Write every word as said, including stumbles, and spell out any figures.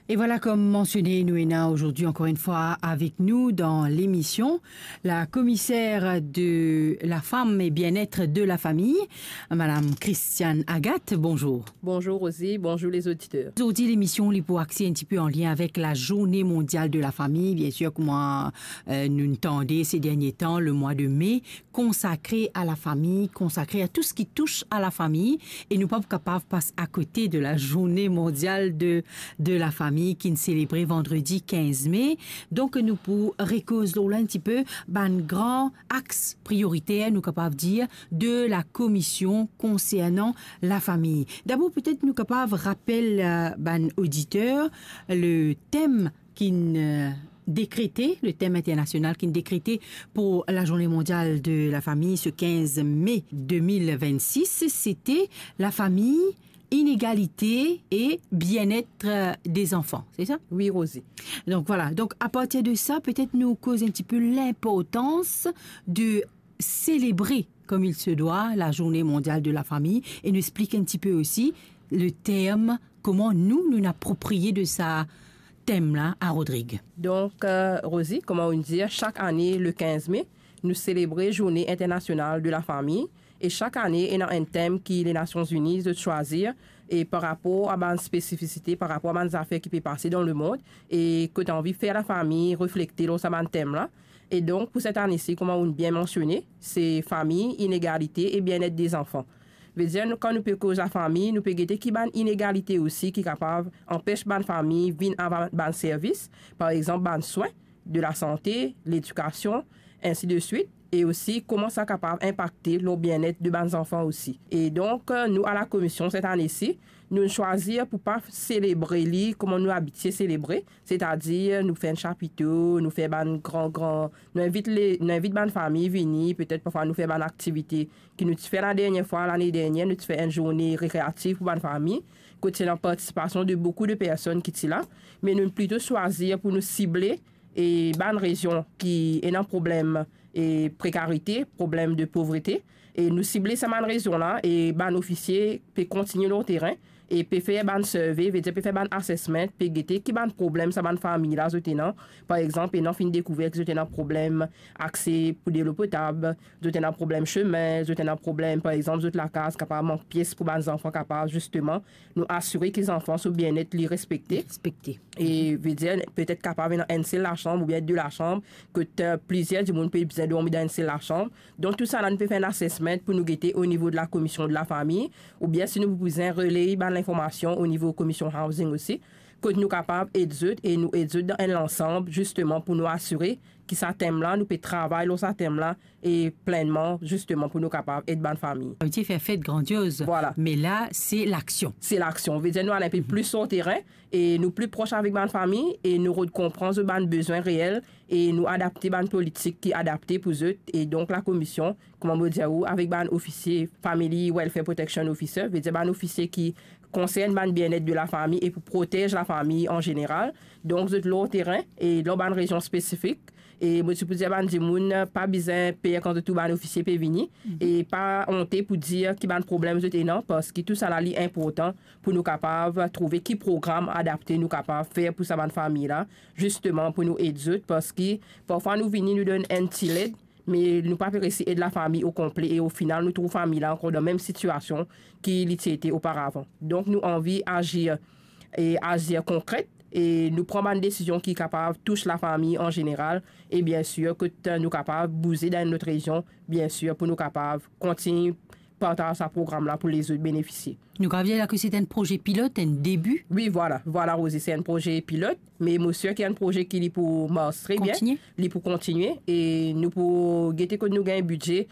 Et voilà, comme mentionné, nou ena aujourd'hui encore une fois avec nous dans l'émission la commissaire de la femme et bien-être de la famille, Madame Christiane Agathe. Bonjour. Bonjour Rosie, bonjour les auditeurs. Zordi lemision li pou axe un petit peu en lien avec la Journée mondiale de la famille. Bien sûr, kouma, euh, nou tande ces derniers temps, le mois de mai consacré à la famille, consacré à tout ce qui touche à la famille, et nou pa pou kapav pas à côté de la Journée mondiale de, de la famille ki nou selebre vandredi quinze mai. Donk nou pou rekoz lor la un petit peu bann gran axe prioritaire, nou kapav dir, de la commission concernant la famille. D'abord, peut-être nou kapav rapel, euh, bann auditeur le thème ki, euh, décrété, le thème international ki décrété pour la Journée mondiale de la famille ce quinze mai deux mille vingt-six, c'était la famille, inégalité et bien-être, euh, des enfants, c'est ça ? Oui, Rosie. Donc voilà. Donc à partir de ça, peut-être nou koz un petit peu l'importance de célébrer comme il se doit la Journée mondiale de la famille et nou explik un petit peu aussi le thème, kouma nou, nou approprié de sa thème-là à Rodrigue. Donk, euh, Rosie, kouma nou dir, chak ane, le quinze mai, nou selebre Journée internationale de la famille. E chak ane, ena enn tem ki Lenasion Zini zot swazir, e par rapor a bann spesifisite, par rapor a bann zafer ki pe pase dan lemond, e kot anvi fer lafami reflekte lor sa bann tem-la. E donk, pou set ane-si, kouma ou'nn bien mansione, se fami, inegalite e bien-être des enfants. Vedir, nou, kan nou pe koz lafami, nou pe gete ki bann inegalite osi ki kapav anpes bann fami vinn a bann, bann servis, par exanp, bann swin de lasante, ledikasion, ensi de swit, e osi kouma sa kapav inpakte lor bien-être de bann zanfan osi. E donk, nou, a la komision, set ane-si, nou swazir pou pa selebre li kouma nou abitie selebre, setadir nou fer enn chapito, nou fer bann gran, gran, nou invit le, nou invit bann fami vini, petet parfwa nou fer bann aktivite ki nou ti fer ladernie fwa, lane dernie, nou ti fer enn zourne rekreativ pou bann fami, kot ti ena partisipasion de boukou de personn ki ti la, me nou plito swazir pou nou sible e bann rezion ki ena problem e prekarite, problem de povrete, e nou sible sa bann rezion-la, e bann ofisie pe kontigne lor terin, e pe fer bann survey, vedir pe fer bann assessment, pe gete ki bann problem sa bann fami-la zot ena. Par exanp, ena finn dekouver ki zot ena problem akse pou delo potab, zot ena problem sime, zot ena problem, par exanp, zot lakaz kapav mank pies pou bann zanfan kapav, zisteman, nou asire ki zanfan so bien-être li respekte. Respekte. E vedir, petet kapav ena enn sel lasanm oubien de lasanm, kot, euh, plizier dimoun pe bizin dormi dan enn sel lasanm. Donk, tousala, nou pe fer enn assessment pou nou gete o nivo de la komision de lafami, oubien si nou pou bizin reley bann linformasion o nivo komision housing osi, kot nou kapav ed zot e nou ed zot dan enn lansam, zisteman, pou nou asire ki sa tem-la, nou pe travay lor sa tem-la, e plennman, zisteman, pou nou kapav ed bann fami. Sa vedir fer fet grandioz. Vwala. Me la, se laksion. Se laksion. Vedir, nou al enpe plis lor terin, e nou pli pros avek bann fami, e nou rod konpran zot bann bezwin reel, e nou adapte bann politik ki adapte pou zot. E donk, lakomision, kouma mo dir ou, avek bann ofisie, Family Welfare Protection Officer, vedir bann ofisie ki konsern bann bien-être de lafami e pou protez lafami an zeneral. Donk, zot lor terin e lor bann rezion spesifik. E mo ti pou dir bann dimoun, pa bizin per kan zot trouv bann ofisie pe vini. E pa onte pou dir ki bann problem zot ena, parski tousala li inportan pou nou kapav trouve ki program adapte nou kapav fer pou sa bann fami-la, zisteman pou nou ed zot, parski parfwa nou vini, nou donn enn ti led, me nou pa pe resi ed lafami o konple, e o final, nou trouv fami-la ankor dan mem sitiasion ki li ti ete oparavan. Donk, nou anvi azir, e azir konkret, e nou pran bann desizion ki kapav tous lafami an zeneral, e biensir, kot nou kapav bouze dan enn lot rezion, biensir, pou nou kapav kontign partaz sa program-la pou lezot benefisie. Nou kapav dir la ki se enn proze pilot, enn debi? Wi, vwala, vwala, Rosie, se enn proze pilot, me mo sir ki enn proze ki li pou mars tre bien, kontigne, li pou kontigne, e nou pou gete kot nou gagn bidze,